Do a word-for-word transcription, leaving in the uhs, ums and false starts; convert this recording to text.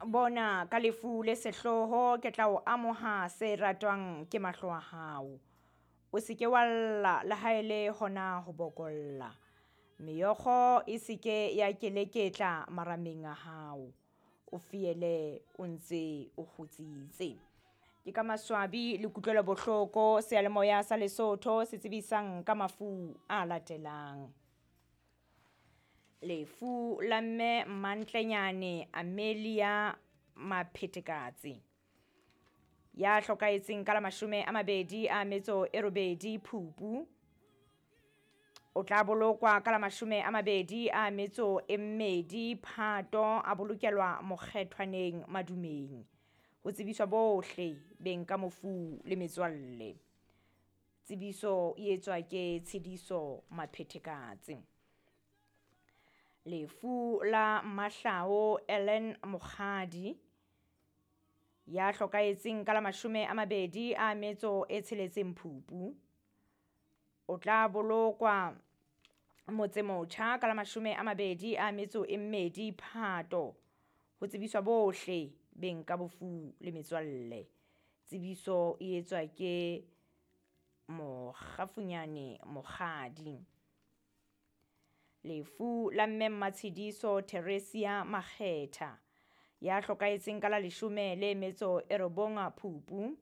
Bona, ka lefu le sehloho ke tla o amoha se ratwang ke mahlo a hao. O se ke wa lla le ha e le hona ho bokolla. Meokgo e se ke ya keleketla marameng a hao. O fiele o ntse o kgutsitse. Ke ka maswabi le kutlwelo bohloko seyalemoya sa Lesotho se tsebisang ka mafu a latelang. Lefu la mme Mmantlenyane Amelia Maphetekatse ya hlokahetseng ka la mashome a mabedi a metso e robedi Phupu. O tla bolokwa ka la mashome a mabedi a metso e mmedi Phato, a bolokelwa mokgethwaneng Madumeng. Ho tsebiswa bohle beng ka mofu le metswalle. Tsebiso e etswa ke Tshidiso Maphetekatse. Lefu la Mahlao Ellen Mokgadi ya hlokahetseng ka la mashome a mabedi a metso e tsheletseng Phupu. O tla bolokwa Motsemotjha ka la mashome a mabedi a metso e mmedi Phato. Ho tsebiswa bohle beng ka bofu le metswalle. Tsebiso e etswa ke Mokgafunyane Mokgadi. Lefu la mme Mmatshidiso Theresia Makgetha ya hlokahetseng ka la leshome le metso e robong Phupu.